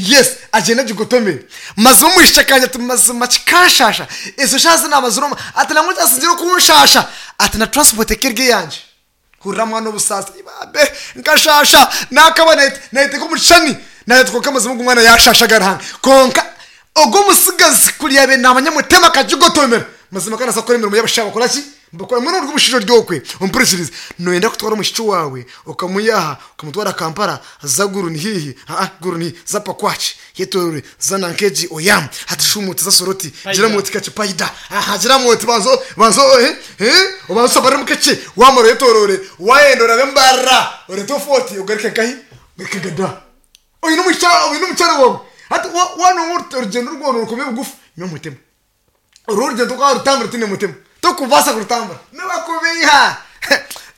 Yes, agyende agigotomere. Mazima omwishiki akanja ati mazima kikanshasha, ezo shaaha zi naamazire omu, ati nangwa ekyasingireyo kunshasha, ati na transport eka eri eyangye. Hurira mwana obusaasi, ibambe nkashasha, naakaba nayeteeka omu kishushani, naagira ati kwonka mazima ogu mwana yaashashaga Ruhanga. Kwonka ogwo omutsigazi kuri yaabaire naamanya Mutema akagigotomera, mazima akaba naabaasa kukora emirimo ei abashaija bakora ki? Nibakora. Mbwenu ori omushaija ori okwe, ompurikirize, nooyenda kutwara omwishiki waawe okamwiha aha okamutwara Kampala, za Gulu ni haihi, aa Gulu ni haihi, za Pakwach, Yetorore, za nanka egi Oyam, hati shuuma oti za Soroti, giramu oti kakye Paida, aha giramu oti banza banza eh eh obanze oshabaremu kakye, waamara oyetorore, waayenda orabe Mbarara, oreete ofe oti ogaruke nkahi? Ogaruke Gada. Oine omukyara oine omukyara waawe, hati wa waanonga orugyendo rwona orikuba bugufu, nywa Mutema. Oru orugyendo tokwarutambura otaine mutima. Tokubaasa kurutambura. Nibakubeiha.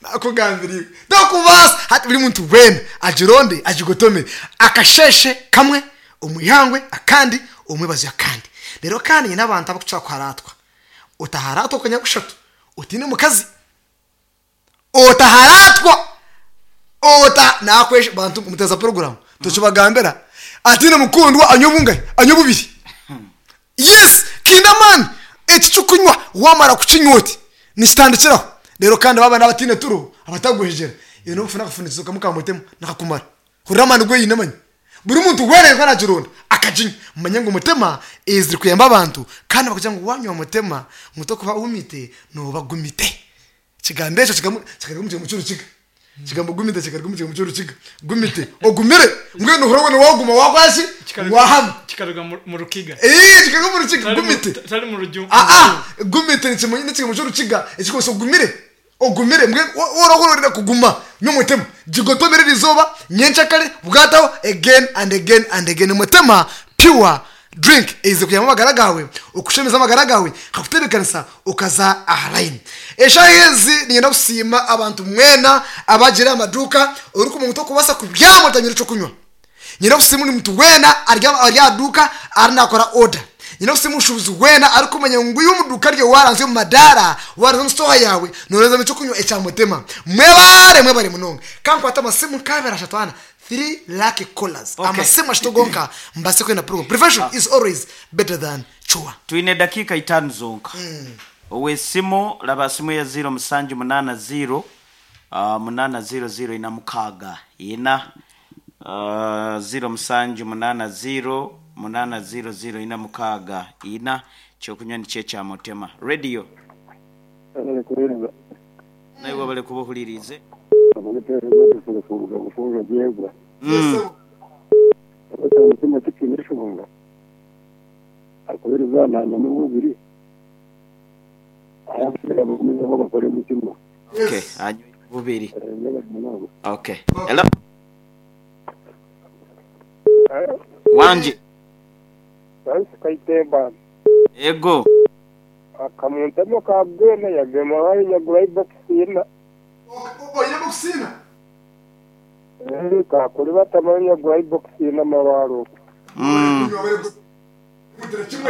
Nakugambira iwe. Tokubaasa. Hati buri muntu weena agironde agigotome. Akasheeshe kamwe omu ihangwe akandi omu mwebazyo akandi. Reero kandi nyine abantu abarikukira kuharaatwa. Otaharaatwa okanyabushatu otaine mukazi. Otaharaatwa. Ota nakwesha bantu muteza puroguramu tokibagambira ataine mukundwa anywe bungahi? Anywe bubiri. Yes kiine amaani eki ky'okunywa wamara kukinywa oti nikitandikiraho reero kandi baaba n'abataine turo abatagwejegyera iwe n'okufuna akafunikizo kamwe ka mutema nikakumara hurira amaani agu eine manya buri muntu weena arikuba nagironda akaginywa manya ngu mutema eziri kuyamba abantu kandi bakugira ngu wanywa mutema ngu tokuba ohumite nooba gumite. Ekigambo ekyo kikaruga omu kigambo ky'orukiga. Ekigambo gumite kikaruga omu kigambo ky'orukiga. Gumite, ogumire, mbwenu ohurire weena waaguma waakora ki? Waahama. Kikaruga mu rukiga. Ee, kikaruga omu rukiga, gumite. Tari mu rujungu. Aa, gumite n'ekigambo ky'orukiga ekirikumanyisa ogumire, ogumire. Mbwenu waaba orenda kuguma n'omutima, gigotomere eriizooba, nyencakare, bwataho, again and again and again. Mutima pure Drink eize kuyamba amagara gaawe, okushemeza amagara gaawe, nkakutebeekanisa okaza aha layini. Eshaaha ezi niinyenda kusiima abantu mwena abagiire aha maduuka orikumanya ngu torikubaasa kubyama otanywire eky'okunywa. Niinyenda kusiima buri muntu weena ari aha duuka ariyo naakora oda. Niinyenda kusiima omushuubuzi weena arikumanya ngu iwe omu duuka rye waaranzya omu madaara, waaranzya omu sitooha yaawe, nooreezamu eky'okunywa ekya Mutema. Mwebare, mwebare munonga. Ka nkwate amasimu nk'abiri ashatu ana. Three lucky callers Okay. amasimu ashatu gonka mbaase kwenda program prevention is always better than cure. Twine edakiika itaano zonka. Ow'esimu, raba simu eya ziiro musanju munaana ziiro, munaana ziiro ziiro ina mukaaga ina. Ziiro musanju munaana ziiro, munaana ziiro ziiro ina mukaaga ina. Ekyokunywa nikyo ekya Mutema. Radio. Webale kuheereza. Naiwe webale kuba ohuririize. Kuruga Bufunjo Gyegwa. Ekya mutima tikiine nshonga ahakuba nanywa bubiri bagumizeho bakore mutima. Okay, anywe bubiri. Okay. Hello. Wangi. Francis Kaitemba. Ego. Akamuntema ka Bwena yagema wayinyagura ibokisi ina. Oine bokisi ina? Eeh kakuri batama nyagura ibokisi ina amabaare okwo.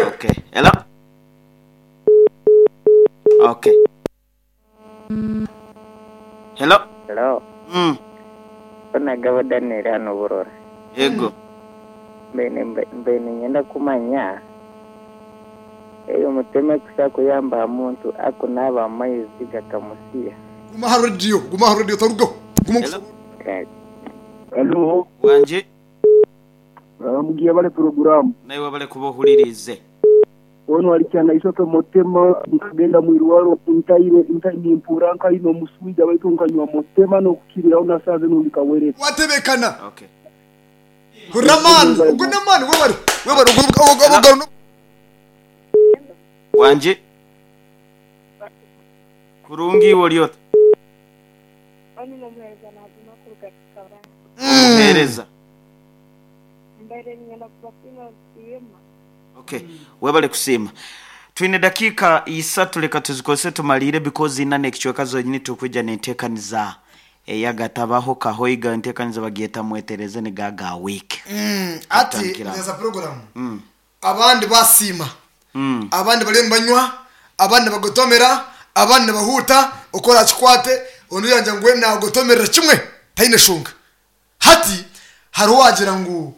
Okay. Hello. Okay. Hello. Hello. Nagabo Daniel hano Burora. Yego. Mbaire niinyenda kumanya eyo mutema ekusa kuyamba aha muntu akunaaba amaizi gakamusiya. Guma aha rediyo, guma aha rediyo otarugaho. Guma Hello. Kale. Hello. Wangi. Mugiye bale puroguramu. Naiwe webale kuba ohuririize. Onu ari Kyanaishoke Mutema, nkagenda mwirwaro ntaire nimpuura nkaine omuswija baitu nkanywa Mutema nokukiriraho na saaha zinu ndi kawere. Watebekana. Okay. Hurira amaani, ogu n'amaani webare, webare ogu ogu. Wangi. Kurungi iwe ori ota? Onu n'omuheereza naaguma kuruga Kikabanza. Omuheereza. Mbaire niinyenda kubasiima nsiima. Ok, webale kusiima. Twine dakiika isatu leka tuzikozese tumaliire because ina n'ekicweka zonyini turikwija n'enteekaniza eyagatabaho kahoiga enteekaniza bagyeta mwetereze niga ga week. Hati Tutandikire aho. neza puroguramu abandi basiima abandi bariyo nibanywa abandi nibagotomera abandi nibahuuta oku orakikwate ondiijo yaagira ngu we naagotomerera kimwe taine shonga. Hati hariho owaagira ngu.